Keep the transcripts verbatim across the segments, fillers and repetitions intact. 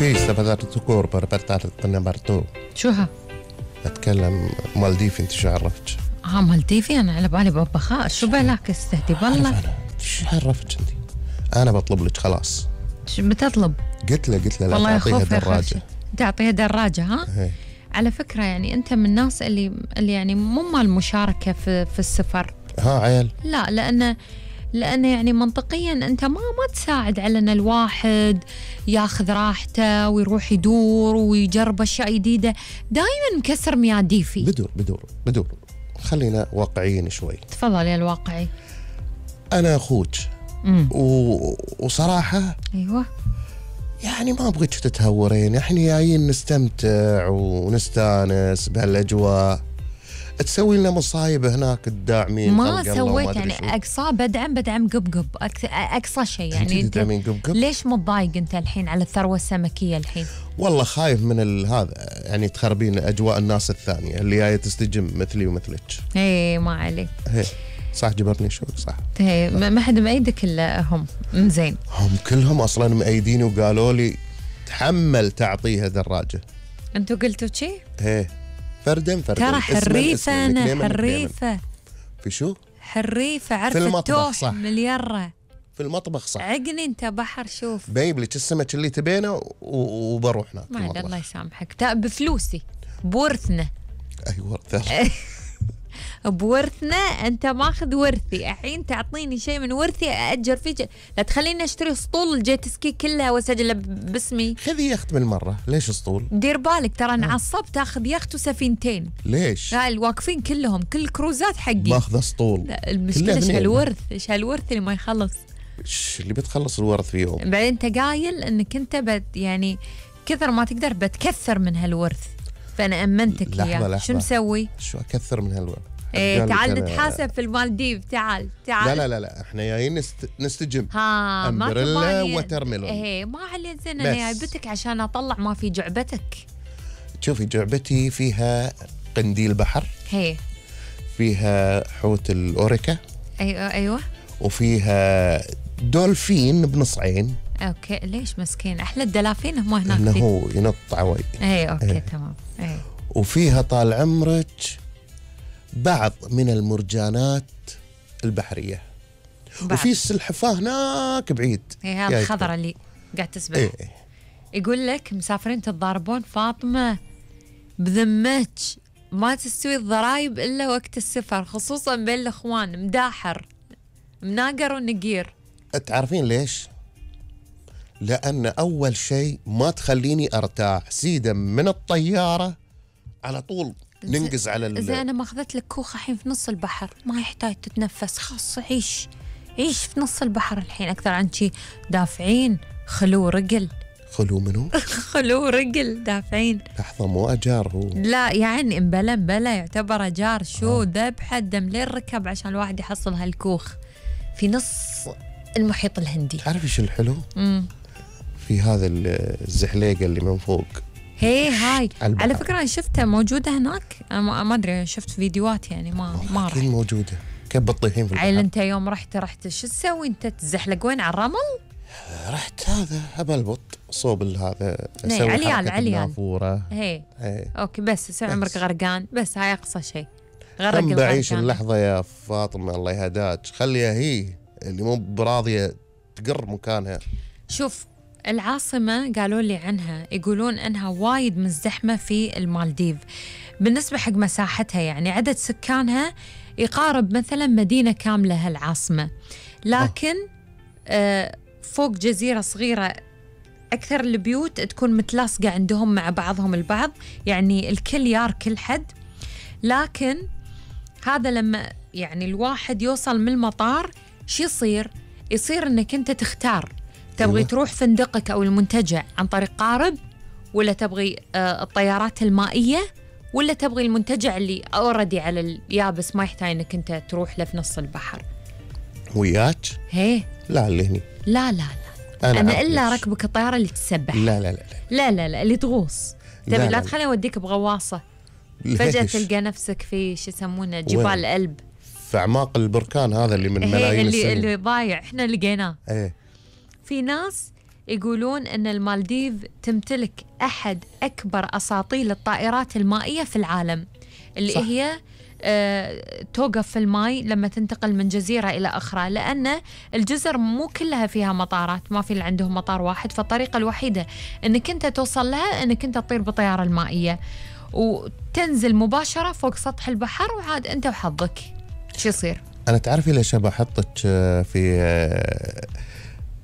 Pista تذكر بربطات برتو شو ها؟ أتكلم مالديفي. أنت شو عرفتش؟ ها مالديفي أنا على بالي ببخاء. شو بالك استهدي بالله؟ أنا شو عرفتش أنت؟ أنا بطلب لك خلاص. شو بتطلب؟ قلت له قلت له لا تعطيها دراجة. تعطيها دراجة ها؟ هي. على فكرة يعني أنت من الناس اللي اللي يعني مو مال مشاركة في في السفر. ها عيل؟ لا لأن لأن يعني منطقيا أنت ما ما تساعد على أن الواحد ياخذ راحته ويروح يدور ويجرب أشياء جديدة. دائما مكسر مياديفي. بدور بدور بدور خلينا واقعيين شوي. تفضل يا الواقعي. أنا أخوك و... وصراحة أيوة يعني ما أبغيك تتهورين. إحنا جايين نستمتع ونستانس بهالأجواء. تسوي لنا مصايب هناك تداعمين. ما سويت يعني أقصى بدعم بدعم قبقب أقصى شيء يعني. تدعمين قبقب؟ ليش متضايق أنت الحين على الثروة السمكية الحين؟ والله خايف من هذا يعني تخربين أجواء الناس الثانية اللي جاية تستجم مثلي ومثلك. إيه ما عليك. هي صح جبرني شوي صح. إيه ما حد مأيدك إلا هم. زين هم كلهم أصلا مأيديني وقالوا لي تحمل تعطيها دراجة. أنتوا قلتوا شيء؟ إيه فردين فردين. ترى حريفة أنا حريفة. في شو؟ حريفة عرفت توح مليرة. في المطبخ صح. عقني أنت بحر شوف. بجيب لك السمك اللي تبينه وبروح هناك. ما الله يسامحك بفلوسي بورثنا. أي ورثة. بورثنا أنت ماخذ ورثي الحين تعطيني شيء من ورثي أأجر فيه. لا تخليني أشتري اسطول الجيت سكي كلها وأسجلها باسمي. خذي يخت بالمرة. ليش اسطول؟ دير بالك ترى نعصب تاخذ يخت وسفينتين. ليش؟ لا الواقفين كلهم كل كروزات حقي باخذ اسطول. لا المشكلة إيش هالورث إيش هالورث اللي ما يخلص. إيش اللي بتخلص الورث في يوم؟ بعدين أنت قايل إنك أنت بت يعني كثر ما تقدر بتكثر من هالورث. فأنا أمنتك إياه. شو مسوي؟ شو أكثر من هالورث؟ إيه تعال نتحاسب في المالديف. تعال تعال. لا لا لا لا احنا جايين نست... نستجم. ها امبريلا وترميلون. ايه ما علي زين انا جايبتك عشان اطلع ما في جعبتك. شوفي جعبتي فيها قنديل بحر. هي فيها حوت الاوريكا. ايوه ايوه. وفيها دولفين بنص عين. اوكي ليش مسكين احلى الدلافين هم هناك. انه هو ينط عوي. اي اوكي ايه. تمام اي. وفيها طال عمرك بعض من المرجانات البحرية. بعض. وفي السلحفاة هناك بعيد. هي هذا الخضرة اللي قاعد تسبح. ايه. يقول لك مسافرين تتضاربون فاطمة بذمتك ما تستوي الضرايب إلا وقت السفر خصوصا بين الأخوان. مداحر مناقر ونقير. تعرفين ليش؟ لأن أول شيء ما تخليني أرتاح سيدا من الطيارة على طول ننقز على ال... زين أنا ما أخذت لك كوخ الحين في نص البحر ما يحتاج تتنفس. خاص عيش عيش في نص البحر الحين أكثر عن شي. دافعين خلو رجل. خلو منو؟ خلو رجل دافعين. لحظة مو أجار هو. لا يعني مبلا مبلا يعتبر أجار. شو آه. ذبحة دم لين ركب عشان الواحد يحصل هالكوخ في نص المحيط الهندي. تعرفي شو الحلو؟ امم في هذا الزحليقة اللي من فوق. هي هاي على فكرة أنا شفتها موجودة هناك. أنا ما أدري شفت فيديوهات يعني ما ما رحت. موجودة كيف بتطيحين في البحر. عيل أنت يوم رحت رحت شو تسوي أنت تزحلق وين على الرمل؟ رحت هذا أبلبط صوب هذا أسوي عليال عليال النافورة. هي. هي أوكي بس سوي عمرك غرقان بس هاي أقصى شيء. غرق الغرقان. بعيش اللحظة يا فاطمة الله يهداك خليها هي اللي مو براضية تقر مكانها. شوف العاصمة قالوا لي عنها يقولون أنها وايد مزدحمة في المالديف بالنسبة حق مساحتها. يعني عدد سكانها يقارب مثلا مدينة كاملة هالعاصمة. لكن آه فوق جزيرة صغيرة أكثر البيوت تكون متلاصقة عندهم مع بعضهم البعض. يعني الكل يار كل حد. لكن هذا لما يعني الواحد يوصل من المطار شو يصير؟ يصير أنك أنت تختار تبغي أيوة. تروح فندقك أو المنتجع عن طريق قارب ولا تبغي آه الطيارات المائية ولا تبغي المنتجع اللي أوردي على اليابس ما يحتاج أنك أنت تروح له في نص البحر. وياك؟ هي لا اللي هني. لا لا لا أنا, أنا إلا ركبك الطيارة اللي تسبح. لا لا لا لا لا لا اللي تغوص. تبي لا, لا تخليني أوديك بغواصة فجأة تلقى نفسك في شو يسمونه جبال ألب في أعماق البركان هذا اللي من ملايين اللي السنين اللي ضايع إحنا لقيناه. ايه في ناس يقولون أن المالديف تمتلك أحد أكبر أساطيل الطائرات المائية في العالم، اللي صح. هي أه توقف في الماء لما تنتقل من جزيرة إلى أخرى، لأن الجزر مو كلها فيها مطارات، ما في اللي عندهم مطار واحد، فالطريقة الوحيدة أنك أنت توصل لها أنك أنت تطير بطيارة المائية وتنزل مباشرة فوق سطح البحر، وعاد أنت وحظك شو يصير. أنا تعرفي ليش بحطك في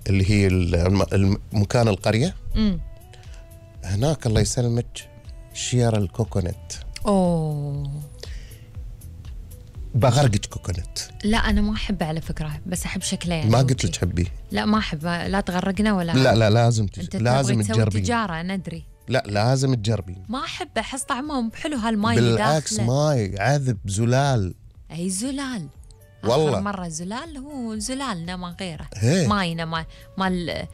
اللي هي مكان القرية؟ امم هناك الله يسلمك شير الكوكونات. أوه بغرقك كوكونات. لا أنا ما أحبه على فكرة، بس أحب شكله يعني. ما قلت لك تحبيه. لا ما أحبه، لا تغرقنا ولا. لا لا لازم تج... أنت لازم تسوي تجربين. تجارة ندري. لا لازم تجربين. ما أحبه، أحس طعمه بحلو هالماي اللي بالعكس داخله. ماي عذب زلال. أي زلال. والله. آخر مرة زلال هو زلالنا ما غيره. هي. ماينا ما مال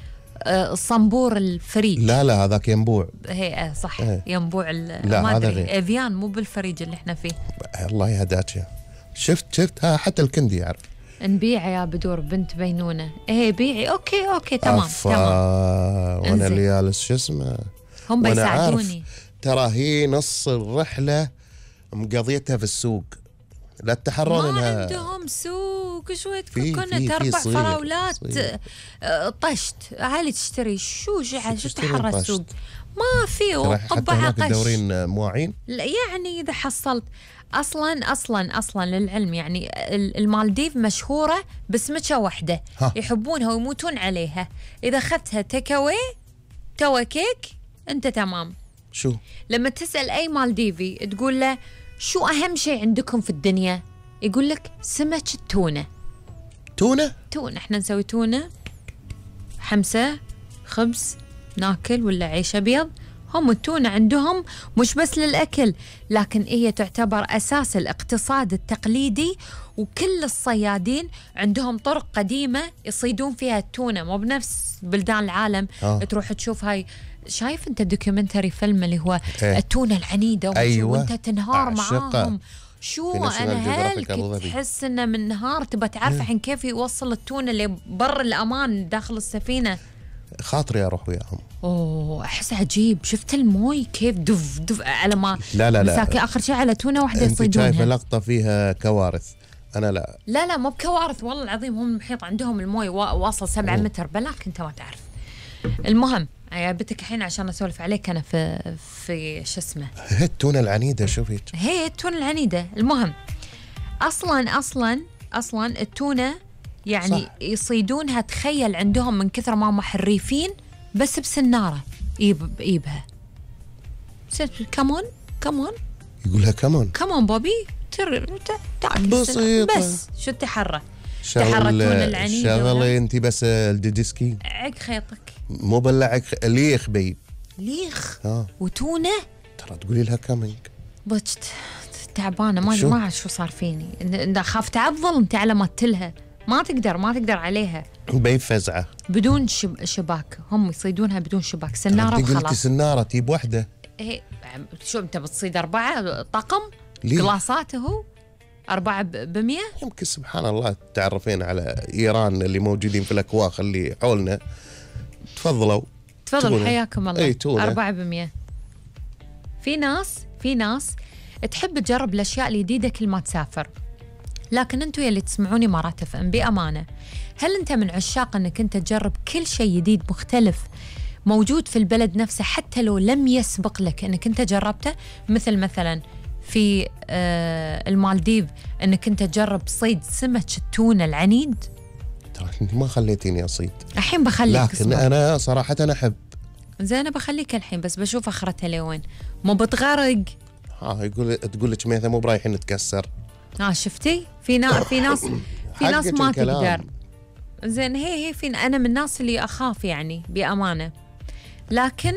آه، الصنبور الفريج. لا لا هذاك ينبوع. هي آه، صح هي. ينبوع ال- لا، ما هذا أدري غير. إفيان مو بالفريج اللي إحنا فيه. الله يهداك يا. شفت شفت ها حتى الكندي يعرف. نبيع يا بدور بنت بينونة. إيه بيعي. أوكي أوكي تمام أفا. تمام. وانا انزين. اللي جالس شو اسمه. هم وأنا عارف بيساعدوني. ترى هي نص الرحلة مقضيتها في السوق. لا تتحرون ما انها عندهم سوق شوية في- كوكونات في- في أربع صيغ- فراولات صيغ. آه، طشت هالي تشتري شو شو شو تشترين تحرى طشت؟ السوق ما في ترى حتى وطبعها هناك قش. تدورين مواعين. لا، يعني إذا حصلت أصلا أصلا أصلا للعلم يعني ال- المالديف مشهورة بسمكة واحدة ها. يحبونها ويموتون عليها. إذا أخذتها تيكاوي توا كيك أنت تمام. شو لما تسأل أي مالديفي تقول له شو أهم شيء عندكم في الدنيا، يقول لك سمك التونة. تونة؟ تونة، احنا نسوي تونة حمسة خبز ناكل ولا عيش أبيض. هم التونة عندهم مش بس للأكل، لكن هي تعتبر أساس الاقتصاد التقليدي، وكل الصيادين عندهم طرق قديمة يصيدون فيها التونة، مو بنفس بلدان العالم. آه. تروح تشوف هاي، شايف انت دوكيومنتري فيلم اللي هو إيه. التونة العنيدة وش- أيوة. وانت تنهار أعشقه. معاهم. في شو National انا Geographic هلك أبو ظبي. تحس انه من نهار تبى تعرف عن كيف يوصل التونة لبر الامان داخل السفينة. خاطري اروح وياهم. اوه احس عجيب. شفت الموي كيف دف دف على ما لا لا لا. مساكين اخر شيء على تونة واحدة انت شايفه يصيدونها. لقطه فيها كوارث. انا لا. لا لا مو بكوارث والله العظيم، هم المحيط عندهم الموي وا- واصل سبعة متر بلاك انت ما تعرف. المهم جابتك الحين عشان اسولف عليك انا في في شو اسمه هي التونه العنيده شوفي. هي التونة العنيدة. المهم اصلا اصلا اصلا التونة يعني صح. يصيدونها، تخيل عندهم من كثر ما هم حريفين بس بسنارة يب بإيبها. كمون كمون يقولها كمان كمون بوبي تر تعكس بسيطة. بس شو التحرى تحرى التونة العنيدة ولا؟ شغلي انت بس الديدسكي عق خيطك مو بلعك ليخ بي. ليخ ها وتونة. ترى تقولي لها كامينج. بجت تعبانة ما شو؟ ما أعرف شو صار فيني. إن- خاف تعضل انت على ما تلها، ما تقدر ما تقدر عليها بي فزعه. بدون شب شباك. هم يصيدونها بدون شباك، سنارة انت قلتي وخلاص. سناره تجيب وحده. إيه شو انت بتصيد أربعة طقم ليه؟ كلاسات هو أربعة ب- بمية. يمكن سبحان الله تعرفين على ايران اللي موجودين في الاكواخ اللي حولنا. تفضلوا. تفضل تونة. حياكم الله. اي تونة. أربعة بمية. في ناس في ناس تحب تجرب الأشياء الجديدة كل ما تسافر، لكن أنتوا يلي تسمعوني مرات اف ام بأمانة، هل أنت من عشاق أنك أنت تجرب كل شيء جديد مختلف موجود في البلد نفسه حتى لو لم يسبق لك أنك أنت جربته؟ مثل مثلا في آه المالديف أنك أنت تجرب صيد سمك التونة العنيد. ترى انت ما خليتيني اصيد. الحين بخليك لكن اصبر. انا صراحه انا احب. زين أنا بخليك الحين بس بشوف آخرتها لوين. مو بتغرق. ها يقول تقول لك ميثا مو برايحين نتكسر. اه شفتي في ناس في ناس في ناس حقك ما الكلام. تقدر. زين هي هي في انا من الناس اللي اخاف يعني بامانه، لكن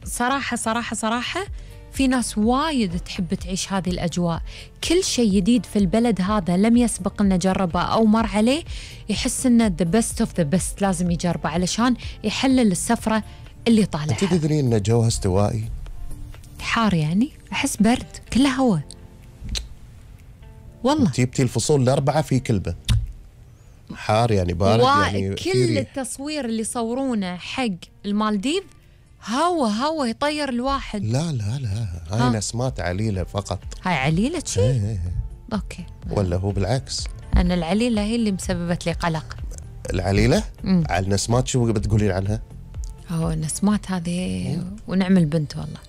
صراحه صراحه صراحه في ناس وايد تحب تعيش هذه الاجواء. كل شيء جديد في البلد هذا لم يسبق انه جربه او مر عليه يحس انه ذا بيست اوف ذا بيست، لازم يجربه علشان يحلل السفره اللي انت طالعها. تدرين ان جوها استوائي؟ حار يعني احس برد كله هواء والله. جبتي الفصول الاربعه في كلبه. حار يعني بارد يعني وكل في ريح. التصوير اللي يصورونه حق المالديف هوا هوا يطير الواحد. لا لا لا هاي ها. نسمات عليلة فقط. هاي عليلة شي؟ إيه إيه. اوكي. ولا هو بالعكس؟ انا العليلة هي اللي مسببت لي قلق. العليلة؟ مم. على النسمات شو بتقولين عنها؟ هو النسمات هذه ونعمل بنت والله.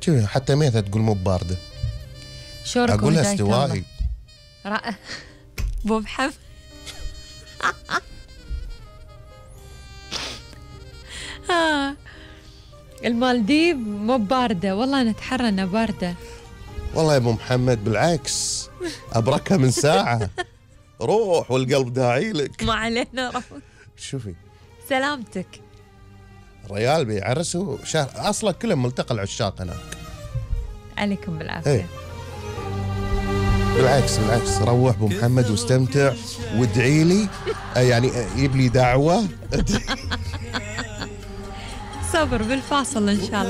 شوفي حتى ميثا تقول مو باردة. شورك أقولها وهداية الله. استوائي. رأ... بو محمد آه. المالديف مو باردة والله، نتحرى انها باردة. والله يا ابو محمد بالعكس ابركها من ساعة. روح والقلب داعي لك. ما علينا روح. شوفي سلامتك. ريال بيعرسوا شهر اصلا كلهم ملتقى العشاق هناك. عليكم بالعافية. ايه بالعكس بالعكس روح ابو محمد واستمتع وادعي لي. آه يعني جيب لي دعوة. صبر بالفاصل ان شاء الله.